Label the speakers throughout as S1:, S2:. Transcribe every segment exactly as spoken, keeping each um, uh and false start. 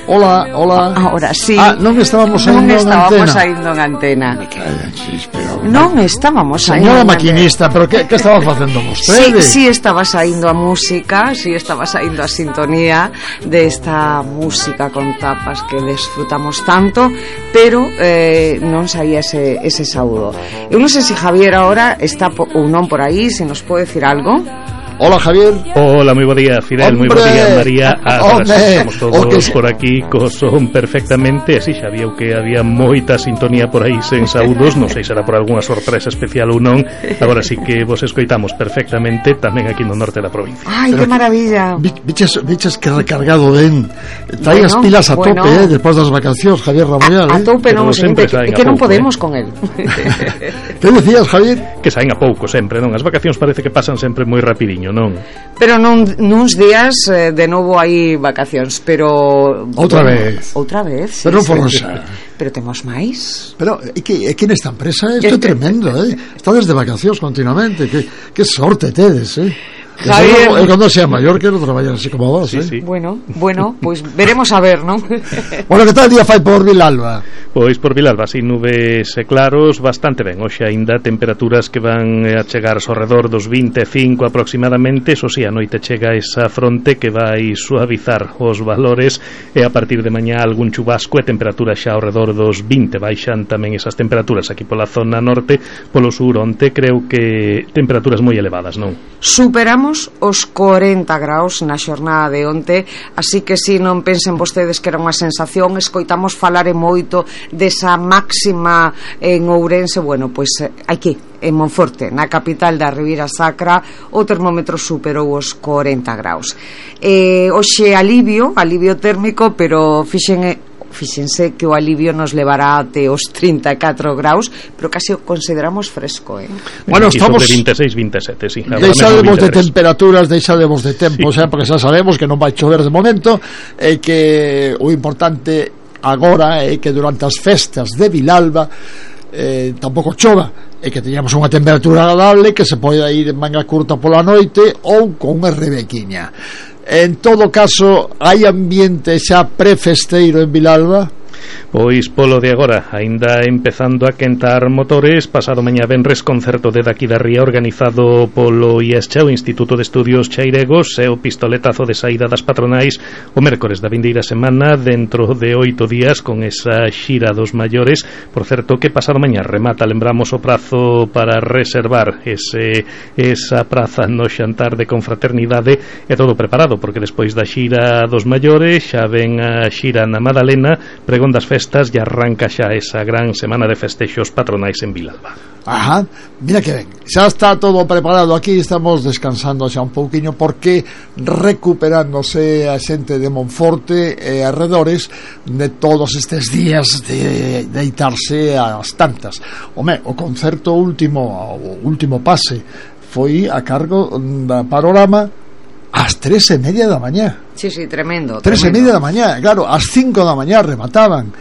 S1: Hola, hola.
S2: Ahora sí.
S1: Ah, non estábamos saindo
S2: non estábamos
S1: en antena.
S2: saindo en antena. Non estábamos saindo.
S1: Señora maquinista, pero que, que estaba facendo vostede?
S2: Sí, sí estaba saindo a música, sí estaba saindo a sintonía desta música con tapas que desfrutamos tanto, pero eh, non saía ese, ese saúdo. Eu non sei se Javier ahora está po, ou non por aí, se nos pode decir algo.
S1: Hola, Javier.
S3: Hola, moi bo día, Fidel, moi bo día, María. Ahora sí, estamos todos
S1: que...
S3: por aquí co son perfectamente. Así xa viu que había moita sintonía por aí sen saúdos. Non sei se será por algunha sorpresa especial ou non. Agora sí que vos escoitamos perfectamente tamén aquí no norte da provincia.
S2: Ai, que maravilla.
S1: Biches, biches que recargado ben. Trae bueno, as pilas a bueno. tope, eh, despois das vacacións, Javier Ramoyal.
S2: A, a tope, non, sempre que, que non podemos eh. con el.
S1: Que decías, Javier?
S3: Que saen a pouco sempre, non? As vacacións parece que pasan sempre moi rapidiño, non?
S2: Pero non nuns días eh, de novo hai vacacións, pero
S1: outra
S2: bueno,
S1: vez.
S2: Outra vez.
S1: Pero
S2: sí,
S1: non
S2: sí.
S1: xa.
S2: Pero temos máis.
S1: Pero é que, é que nesta empresa isto é tremendo, eh. Estades de vacacións continuamente. Que que sorte tedes, eh.
S2: Javier,
S1: eu cando sea maior quero traballar así como vos,
S3: sí,
S1: eh?
S3: sí.
S2: Bueno, bueno, pois pues veremos a ver, non?
S1: Bueno, que tal día fai por Vilalba?
S3: Pois por Vilalba, sin nubes e claros, bastante ben. Hoxe aínda temperaturas que van a chegar ao redor dos vinte e cinco aproximadamente. Eso si, a noite chega esa fronte que vai suavizar os valores e a partir de mañá algún chubasco e temperatura xa ao redor dos vinte. Baixan tamén esas temperaturas aquí pola zona norte, polo sur onte creo que temperaturas moi elevadas, non?
S2: Superamos os corenta graus na xornada de onte, así que si non pensen vostedes que era unha sensación. Escoitamos falar e moito desa máxima en Ourense. Bueno, pois aquí en Monforte, na capital da Ribeira Sacra, o termómetro superou os corenta graus. Eh, hoxe alivio, alivio térmico, pero fixen fíxense que o alivio nos levará até os trinta e catro graus, pero casi o consideramos fresco, eh?
S1: Bueno, estamos
S3: de vinte e seis, vinte e sete, sí.
S1: Deixademos de temperaturas, deixademos de tempo, sí. O sea, porque xa sabemos que non vai chover de momento, e que o importante agora é que durante as festas de Vilalba eh, tampouco chova, e que teñamos unha temperatura agradable, que se poida ir en manga curta pola noite ou con unha rebequiña. En todo caso, hai ambiente xa prefesteiro en Vilalba?
S3: Pois polo de agora, aínda empezando a quentar motores. Pasado mañá venres concerto de daqui da Ría organizado polo I E S C H, o Instituto de Estudios Cheiregos, e o pistoletazo de saída das patronais o mércores da vindeira semana, dentro de oito días, con esa xira dos maiores. Por certo que pasado mañá remata, lembramos, o prazo para reservar ese, esa praza no xantar de confraternidade, e todo preparado, porque despois da xira dos maiores xa ven a xira na Madalena, pregón das festas, e arranca xa esa gran semana de festexos patronais en Vilalba.
S1: Ajá, mira que ben, xa está todo preparado. Aquí estamos descansando xa un pouquiño, porque recuperándose a xente de Monforte e arredores de todos estes días de deitarse ás tantas. Home, o concerto último, o último pase foi a cargo da Panorama ás tres e media da mañá.
S2: Sí, sí, tremendo.
S1: Tres
S2: tremendo.
S1: e media da mañá, claro, ás cinco da mañá remataban.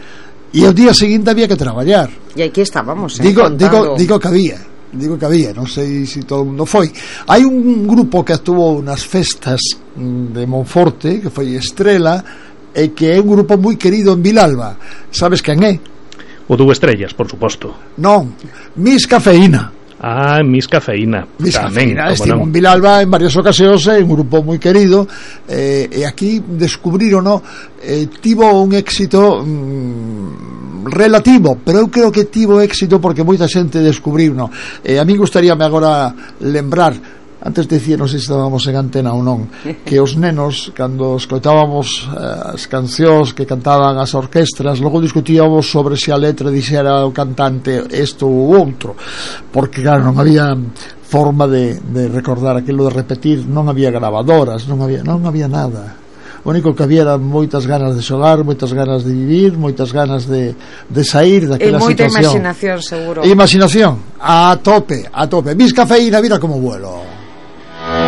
S1: E o día seguinte había que traballar.
S2: E aquí estábamos, eh,
S1: digo, digo, digo que había, digo que había, non sei se si todo o mundo foi. Hai un grupo que actuou nas festas de Monforte, que foi Estrela, e que é un grupo moi querido en Vilalba. Sabes quen é?
S3: O Dúo Estrellas, por suposto.
S1: Non, Miss Cafeína.
S3: Ah, Miss Cafeína.
S1: Miss
S3: Tamén,
S1: Cafeína, estivo en Vilalba en varias ocasións, é un grupo moi querido, eh, e aquí descubriron, no, eh, tivo un éxito mm, relativo, pero eu creo que tivo éxito porque moita xente descubriu, no. Eh, a mí gustaríame agora lembrar, antes dicía, non sei se estábamos en antena ou non, que os nenos, cando escoitábamos eh, as cancións que cantaban as orquestras, logo discutíamos sobre se a letra dixera o cantante isto ou outro, porque claro, non había forma de, de recordar aquilo, de repetir, non había gravadoras, non había, non había nada. O único que había eran moitas ganas de xogar, moitas ganas de vivir, moitas ganas de, de sair daquela situación.
S2: E moita imaginación, seguro.
S1: E imaginación, a tope, a tope. Miss Cafeína, mira como vuelo.